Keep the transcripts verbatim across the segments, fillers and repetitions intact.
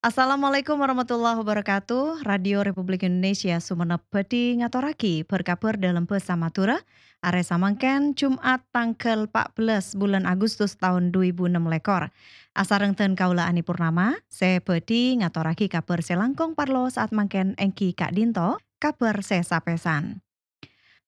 Assalamualaikum warahmatullahi wabarakatuh. Radio Republik Indonesia Sumenep bhâdhi ngatorraghi bhâr-kabhâr dâlem bhâsa Madhurâ, arè samangkèn Jum'at tangghâl empat belas bulân Agustus taon dhu èbu ennem lèkor. Asareng dân kaulâ Ani Purnama, sè bhâdhi ngatorraghi kabhâr sè langkong parlo sa'at mangkèn èngghi ka'dinto kabhâr sè sapèsan.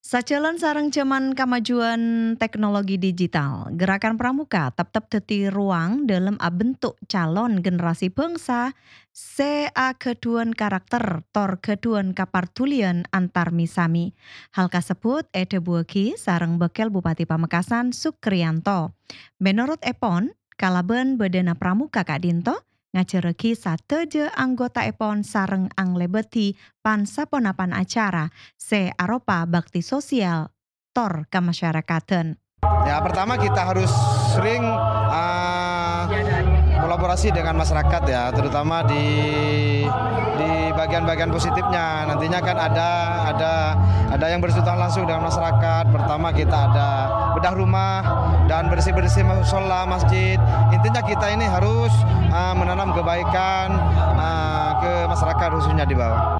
Sajhâlân sareng jhâman kamajuwân teknologi digital, Gerakan Pramuka teptep dhâddhi ruwang dâlem abentuk calon generasi bangsa sè aghâdhuwân karakter tor ghâdhuwân kapardulian antar mi-sami. Hal kasebbhut èdhâbuwâghi sareng Bâkkèl Bupati Pamekasan Sukriyanto. Mènorot èpon, kalabân bâdâna Pramuka ka'dinto, ngajhârrâghi sadhâjâ anggotaèpon sareng anglèbâdhi pan-saponapan acara sè aropa bhâkti sosial tor kamasyarakaddhân. Ya, pertama kita harus sering, ah, kolaborasi dengan masyarakat ya, terutama di, di bagian-bagian positifnya. Nantinya kan ada, ada, ada yang bersentuhan langsung dengan masyarakat. Pertama kita ada bedah rumah dan bersih-bersih musola, masjid. Intinya kita ini harus, ah, menanam kebaikan, ah, ke masyarakat khususnya di bawah.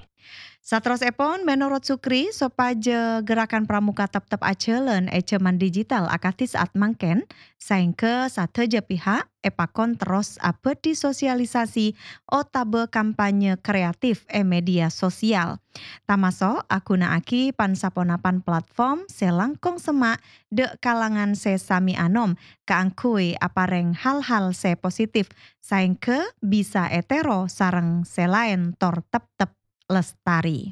Saterrossèpon, mènorot Sukri, sopajâ Gerakan Pramuka teptep ajhâlân è jhâman digital akadhi sa'at mangkèn, saèngghâ sadhâjâ pihak èpakon terros abâdhi sosialisasi otabâ kampanye kreatif è media sosial. Tamaso' aghunaaghi pan-saponapan platform sè langkong semma' dâ' kalangan sè sami anom kaangghuy aparèng hal-hal sè positif, saèngghâ bisa ètèro sareng sè laèn tor teptep lestari.